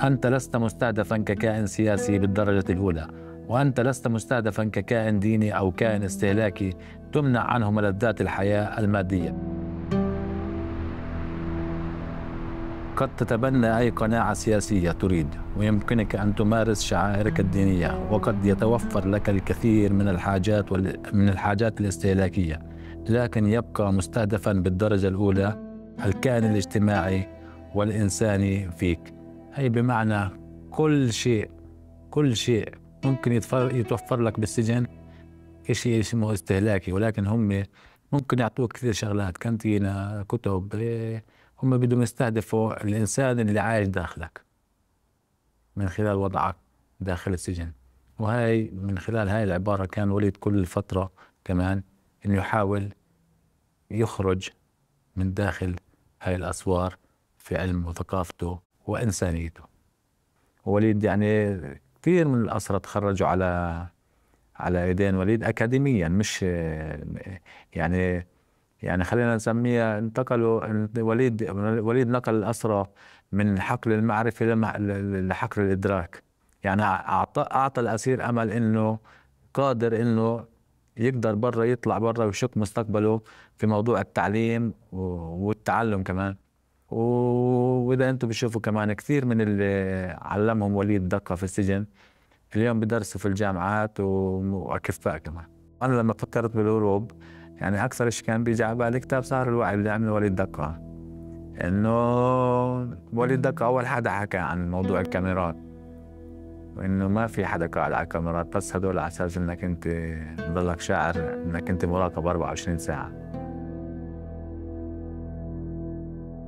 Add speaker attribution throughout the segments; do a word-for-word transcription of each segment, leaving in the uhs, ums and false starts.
Speaker 1: أنت لست مستهدفا ككائن سياسي بالدرجة الأولى، وأنت لست مستهدفا ككائن ديني أو كائن استهلاكي تمنع عنه ملذات الحياة المادية. قد تتبنى أي قناعة سياسية تريد، ويمكنك أن تمارس شعائرك الدينية، وقد يتوفر لك الكثير من الحاجات من الحاجات الاستهلاكية، لكن يبقى مستهدفا بالدرجة الأولى الكائن الاجتماعي والإنساني فيك. هي بمعنى كل شيء كل شيء ممكن يتوفر لك بالسجن شيء اسمه استهلاكي، ولكن هم ممكن يعطوك كثير شغلات، كانتينا، كتب. هم بدهم يستهدفوا الإنسان اللي عايش داخلك من خلال وضعك داخل السجن. وهي من خلال هاي العبارة كان وليد كل فترة كمان إنه يحاول يخرج من داخل هاي الأسوار في علم وثقافته وإنسانيته. وليد يعني كثير من الأسرى تخرجوا على على ايدين وليد اكاديميا، مش يعني يعني خلينا نسميها انتقلوا وليد وليد نقل الأسرى من حقل المعرفة لحقل الإدراك. يعني أعطى أعطى الأسير أمل إنه قادر إنه يقدر برا، يطلع برا ويشق مستقبله في موضوع التعليم والتعلم كمان. وإذا أنتم بتشوفوا كمان كثير من اللي علمهم وليد دقة في السجن اليوم بدرسوا في الجامعات وأكفاء كمان. أنا لما فكرت بالهروب يعني أكثر شيء كان بيجي على بالي كتاب سهر الوعي اللي عمله وليد دقة. إنه وليد دقة أول حدا حكى عن موضوع الكاميرات، وإنه ما في حدا قاعد على الكاميرات، بس هدول على أساس إنك أنت تضلك شاعر إنك أنت مراقب أربعة وعشرين ساعة.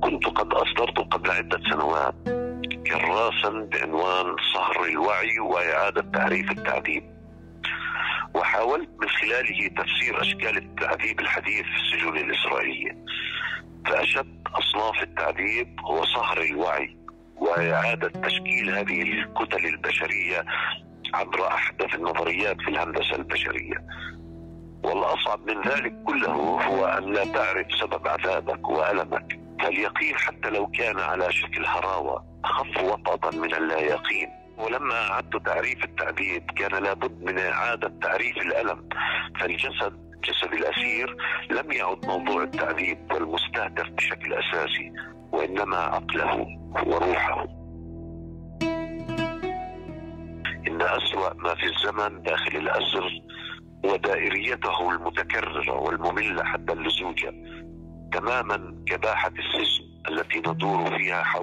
Speaker 2: كنت قد أصدرت قبل عدة سنوات كراسا بعنوان صهر الوعي وإعادة تعريف التعذيب، وحاولت من خلاله تفسير أشكال التعذيب الحديث في السجون الإسرائيلية. فأشد أصناف التعذيب هو صهر الوعي وإعادة تشكيل هذه الكتل البشرية عبر أحدث النظريات في الهندسة البشرية. والأصعب من ذلك كله هو أن لا تعرف سبب عذابك وألمك، فاليقين حتى لو كان على شكل هراوة أخف وطأة من اللا يقين. ولما أعدت تعريف التعذيب كان لابد من إعادة تعريف الألم، فالجسد جسد الأسير لم يعد موضوع التعذيب والمستهدف بشكل أساسي، وإنما عقله وروحه. إن أسوأ ما في الزمن داخل الأسر ودائريته المتكررة والمملة حتى اللزوجة، تماما كباحة السجن التي ندور فيها حول